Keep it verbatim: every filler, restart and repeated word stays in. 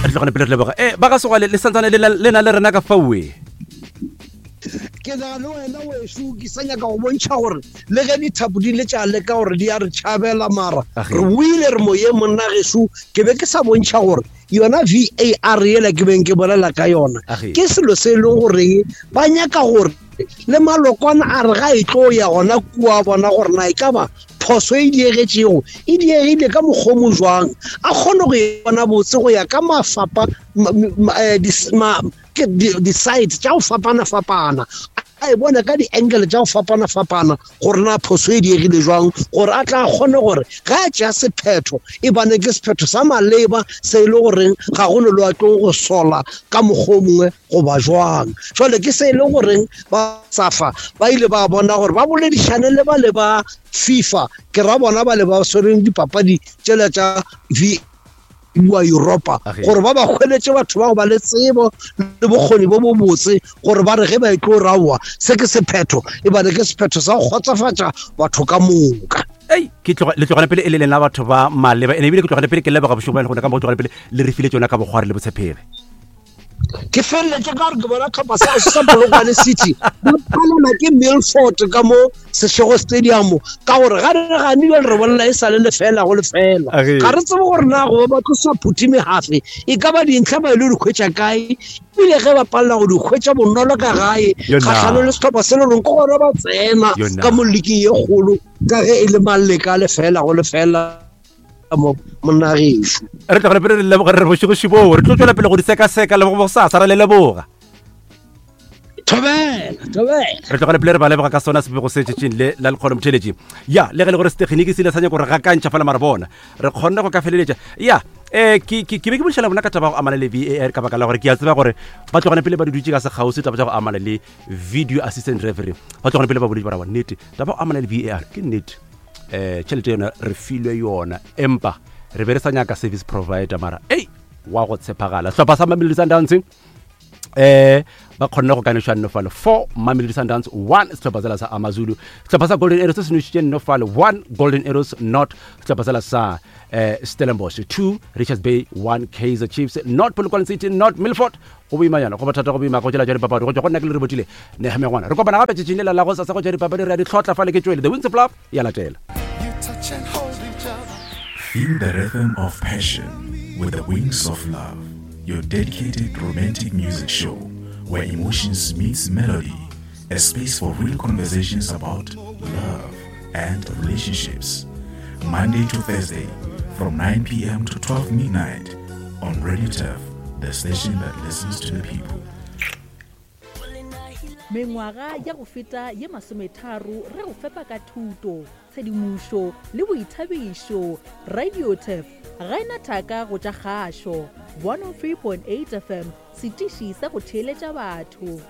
Re tlogane pele re leboga e ba ga segwale le santsane le na le rena ka faue. Ke na le wena weso, ke sa nyaka go bontšha gore le ge dithapo di le tša leka gore di a re tšhabela, mara re boile re moyeng monna geso. Ke be ke sa bontšha gore yona V A R yela ke beng ke bolela ka yona ke selo se e leng goreng ba nyaka gore le malokwana a re ga e tlo ya gona kua bona gore na e ka ba phoso e diegetšego e diegile ka mokgomo jwang, a kgone go e bona botse go ya ka mafapa di-site tša go fapana-fapana, a e bona ka di-angle tša go fapana-fapana gore na phoso e diegile jwang, gore a tla kgone gore ga a tšea sephetho e bane ke sephetho sa maleba se e le goreng ga go no le wa tlo go sola ka mokgwa o mongwe goba jwang. Jwale ke se e le goreng ba SAFA ba ile ba bona gore ba boledišane le ba le ba FIFA, ke ra bona ba le ba swereng dipapadi tšela tša V wa Europa, gore ba ba hweletše batho ba go ba le tsebo le bokgoni bo bo botse gore ba re ge ba e tlo raowa se ke sephetho e bane ke sephetho sa go kgotsofatša batho ka moka. Ei, ke tloga le tlogane pele e le lena batho ba maleba, ene ebile ke tlogane pele ke leboga bošego ba le gona ka mo tlogane pele le re file tšona ka bokgwari le botshepegi. Ke feleletše ka gore ke bona tlhopha sa sa Polokwane City ba palelwa ke Milford ka mo Seshego Stadium, ka gore ga re ganile re bolela e sa le lefela go lefela, ga re tsebe gore na go ba tlosa phuthi megafe e ka ba dintlha ba ile di hwetša kae, ebile ge ba palela go di hwetša bonolo ka gae kgahlano le setlhopha se le reng ke gona ba tsena ka mo liking ye kgolo ka ge e le maleka lefela go lefela mo monagešo. Re tlogele pele re leboga re bošego šiboo, re tlo tšwela pele go di sekaseka le go bosasa ra le leboga. Thobela, thobela. Re tlogele pele re ba leboga ka sona sebego se tšetšeng le la lekgono motheletši. Ya, le ge le gore setekginiki se ile sa nyaka gore gakantšha fela mara bona re kgonne go ka feleletša. Ya, eh ke ke ke be ke boledišana bona ka taba go amana le V A R ka baka la gore ke a tseba gore ba tlogane pele ba di dutše ka sekgauswi taba tša go amana le video assistant referee. Ba tlogane pele ba boletše ba ra nnete taba go amana le V A R ke nnete. Eh tšhelete yona re filwe yona, empa re be re sa nyaka service provider mara ei wa go tshepagala. Sehlopha sa Mamelodi Sundowns eh ba kgonne go kanešwa nnofale four Mamelodi Sundowns one sehlopha sela sa Amazulu. Sehlopha sa Golden Arrows se se nošitše nnofale one Golden Arrows not sehlopha sela sa eh Stellenbosch two Richards Bay one Kaizer Chiefs not Polokwane City not Milford. Go boimanyana go bothata go boima go tšela tša dipapadi go tšwa go nna ke le re botile nehemengwana. Re kopana gape tšatšing lela la go sasa go tša dipapadi re a di tlhotla fale ke tšwele The Wings of Love ya latela. Feel the rhythm of passion with the Wings of Love, your dedicated romantic music show where emotions meets melody, a space for real conversations about love and relationships. Monday to Thursday from nine p.m. to twelve midnight on Radio Turf, the station that listens to the people. Mengwaga ya go feta ye masometharo re go fepa ka thuto, tshedimošo le boithabišo. Radio Turf ga ena thaka go tša kgašo. one oh three point eight F M, setiši sa go theeletša batho.